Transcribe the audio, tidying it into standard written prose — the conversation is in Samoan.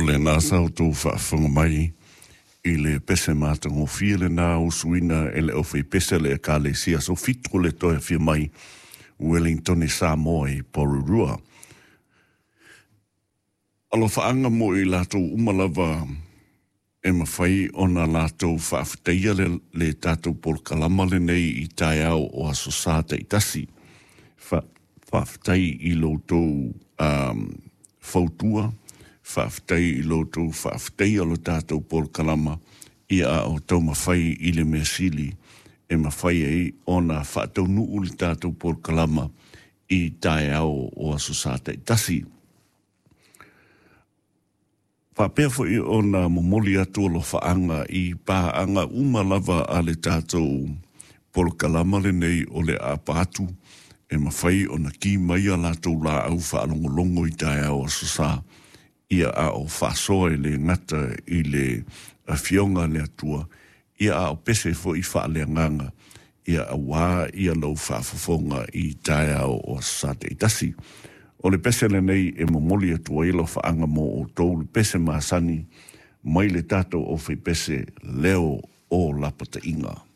lena sa outou faafofoga mai i le pese matagofie lena usuina e le aufaipese a le Ekalesia Aso Fitu o le toe afio mai Wellington Samoa i Porirua. Alofaaga mo i latou uma lava e mafai ona latou faafetaia le, le tatou polokalama lenei i taeao o Aso Sa taitasi. Fa, faafetai i lo outou um, fautua, faafetai i lo outou faafetaia o le tatou polokalama ia a o taumafai i le mea sili e mafai ai ona faataunuu le tatou polokalama i taeao o Aso Sa taitasi. Faapea foi ona momoli atu alofaaga i paaga uma lava a le tatou polokalama lenei o le aapa atu e mafai ona ki mai a latou laau faalogologo i taeao Aso Sa, ia a o faasoa e le gata i le Afioga a le Atua, ia a o pese foi faaleagaga, ia auā ia lou faafofoga i taeao o Aso Sa taitasi. O le pese lenei e momoli atu ai alofaaga mo outou, le pese masani mai le tatou aufaipese leo o lapataiga.